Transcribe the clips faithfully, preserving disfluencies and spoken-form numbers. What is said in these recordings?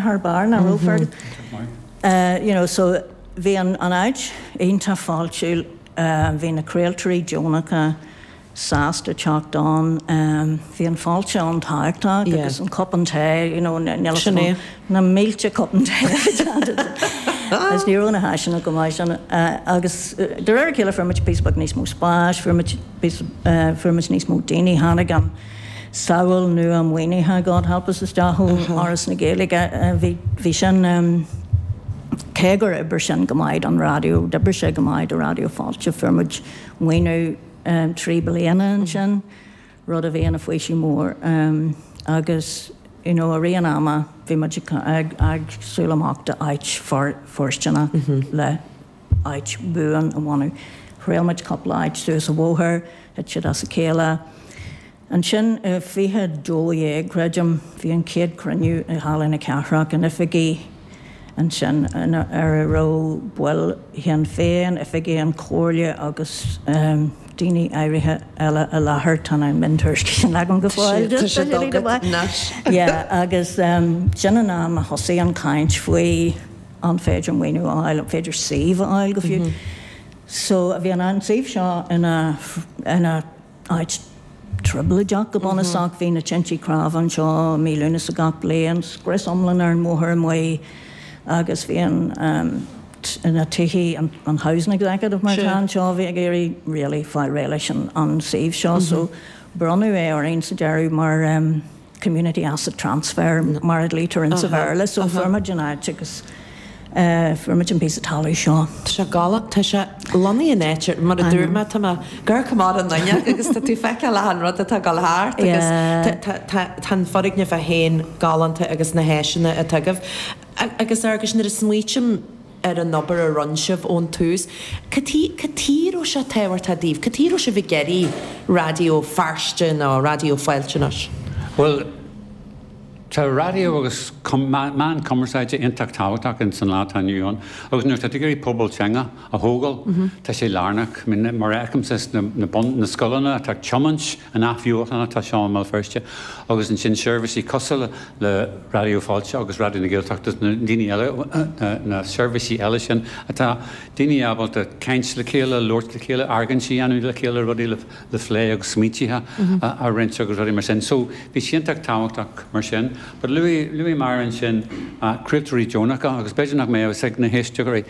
Thar barr nach raibh Fergus? You know so bhí an an áit iontach fáiltiúil, bhí na craoltóirí deonacha sásta teacht ann, bhí an fáilte an-tábhachtach agus an cupán tae, you know níl a fhios agam na mílte cupán tae a bhí déanta agus ní raibh na háiseanna go maith sin agus de réir a chéile fuair muid píosa beag níos mó spáis, fuair muid píosa fuair muid níos mó daoine, tháinig an samhail nua maoinithe God help us isteach ó Fhoras na Gaeilge. Bhí bhí sin cé gur oibrigh sin go maith don raidió, d'oibrigh sé go maith do Raidió Fáilte, fuair muid maoiniú trí bliana ansin, rud a bhí ina faoiseamh mór agus you know i rith an ama bhí muid ag ag súil amach do áit fóirsteanach le áit bhuan a bhunú. Thriail muid cúpla áit suas an bhóthar, thit siad as a chéile. Ansin i fiche dó dhéag, creidim, bhí an chéad chruinniú i Halla na Cathrach, in oifigí ansin ar a raibh baill Shinn Féin, oifigigh an Chomhairle agus daoine áirithe eile i láthair. Tá na miontuairiscí sin agam go fóill. Tá siad agat anois. Yeah, agus sin an am a thosaigh an chaint faoi an féidir maoiniú a fháil, an féidir suíomh a fháil go fiú. So bhí an suíomh seo ina ina áit trioblóideach go bunúsach. Bhí na tintí cnámha anseo i mí Lúnasa gach bliain, scrios iomlán ar an mbóthar amuigh agus bhí an na tithe, an Housing Executive mar atá anseo, bhí ag iarraidh really fáil réidh leis an suíomh seo so bronnadh é orainn sa deireadh mar community asset transfer mar a dlítear in sa Bhéarla so fuair muid an áit agus fuair muid an píosa talamh seo. Tá sé galánta, tá sé lonnaithe in áit, mar a dúirt mé, tá mé ag amharc amach an fhuinneog agus tá tú ag feiceáil achan rud atá ag dul thart agus tá an foirgneamh é féin galánta agus na háiseanna atá agaibh. Agus Fhearghuis, nuair a smaoitím ar an obair a rinne sibh ón tús, cad chuige a raibh sé tábhachtach daoibh? Cad chuige a raibh sibh ag iarraidh Raidió Feirste nó Raidió Fáilte anois? Bhuel, tá raidió agus meán cumarsáide iontach tábhachtach ins an lá atá inniu ann agus nuair atá tú ag iarraidh pobal teanga a thógáil, tá sé lárnach. I mean, mar a fheicimse sna na bun, na scoileanna atá ag tiomáint an athbheochan atá seo i mBéal Feirste agus ansin seirbhísí cosúil le Raidió Fáilte agus Raidió na Gaeltachta na daoine eile, na na seirbhísí eile sin atá daoine ábalta caint le chéile, labhairt le chéile, argóintí a dhéanamh le chéile, rudaí le le plé agus smaointithe a roinnt agus rudaí mar sin. So bhí sé iontach tábhachtach mar sin. But luaigh luaigh Máire ansin craoltóirí deonacha agus b'fhéidir nach mbeadh a fhios ag na héisteoirí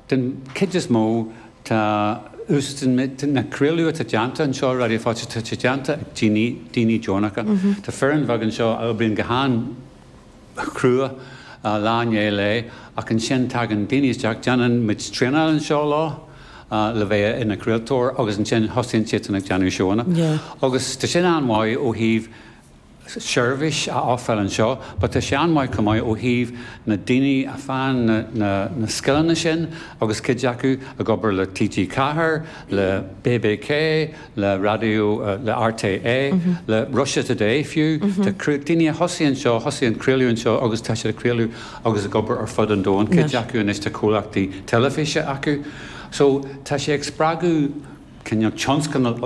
den chuid is mó tá úsáideann na craoladh atá déanta anseo Raidió Fáilte tá sé déanta ag daoine daoine deonacha. Tá foireann bheag anseo a oibríonn go han chrua lá i ndiaidh lae ach ansin tagann daoine isteach déanann muid traenáil anseo leo le bheith ina craoltóir agus ansin thosaíonn siadsan ag déanamh seóanna. Agus tá sin an-mhaith ó thaobh seirbhís a ofráil anseo, but tá sé an-mhaith chomh maith ó thaobh na daoine a faigheann na, na, na scileanna sin agus cuid acu ag obair le TG Ceathair, le BBK, le raidió, le RTÉ, le Russia Today fiú. Tá daoine a thosaigh anseo, thosaigh an craoladh anseo agus tá siad ag craoladh agus ag obair ar fud an domhain. Cuid acu anois tá comhlachtaí teilifíse acu. So tá sé ag spreagadh cineál tionscnamh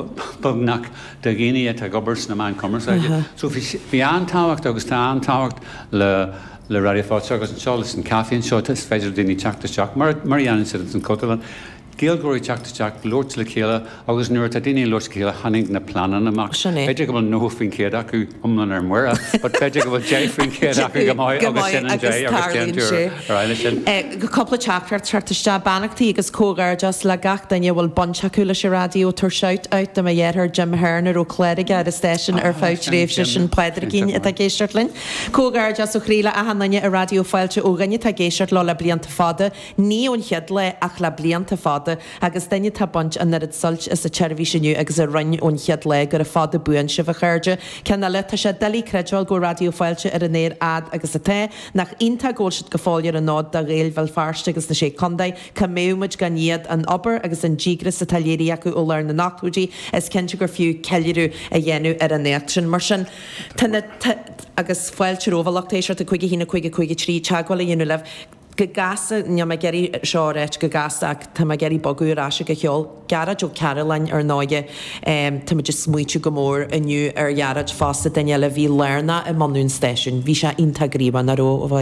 beagnach de dhaoine atá ag obair sna meáin cumarsáide. So bhí bhí an-tábhacht agus tá an-tábhacht le le Raidió Fáilte agus anseo leis an caife anseo is féidir le daoine teacht isteach mar mar a dhéanann siad ins an Chultúrlann. Gaeilgeoirí teacht isteach, labhairt le chéile agus nuair atá daoine ag labhairt le chéile tháinig na pleananna amach. Sin é. B'fhéidir go bhfuil nócha faoin chéad acu iomlán ar muire, but b'fhéidir go bhfuil deich faoin chéad acu go maith Go agus maith sin an agus deich agus déanann tarlaíonn tú sé. ar aghaidh leis sin. Cúpla teachtaireacht teacht isteach. Beannachtaí agus comhghairdeas le gach duine a bhfuil baint acu leis an raidió. Tabhair shout out do mo dheartháir Jim Hearn a raibh clár aige ar an stáisiún ar Ah, feadh sin tréimhse Jim. sin Pádraigín Iontach atá ag maith. éisteacht linn. Comhghairdeas ó chroí le achan duine i Raidió Fáilte ó dhuine atá ag éisteacht leo le blianta fada, ní ón chéad lá ach le blianta fada agus duine atá ag baint an oiread suilt as an tseirbhís inniu agus a rinne ón chéad lá gura fada buan sibh a chairde. Ceann eile, tá sé doiligh creidbheáil go bhfuil Raidió Fáilte ar an aer fhad agus atá. Nach iontach go bhfuil siad go fóill ar an fhód do Ghaeil Bhéal Feirste agus na Sé Chontae, cá mbeadh muid gan iad, an obair agus an díograis atá léirithe acu ó lár na n-ochtóidí, is cinnte gur fiú ceiliúradh a dhéanamh ar an éacht sin. Mar sin, tá na, agus fáilte romhaibh a lucht éisteachta cúig a haon a cúig a cúig a trí teagmháil a dhéanamh libh. Go gasta, níl mé ag iarraidh seo a ráit go gasta ach tá mé ag iarraidh bogadh ar ais ag an cheol. Gearóid Ó Cairealláin ar ndóighe, táimid ag smaointiú go mór inniu ar Ghearóid fosta, duine eile a bhí lárnach i mbunú an stáisiúin. Bhí sé iontach gníomhach, nach raibh, a Mháire?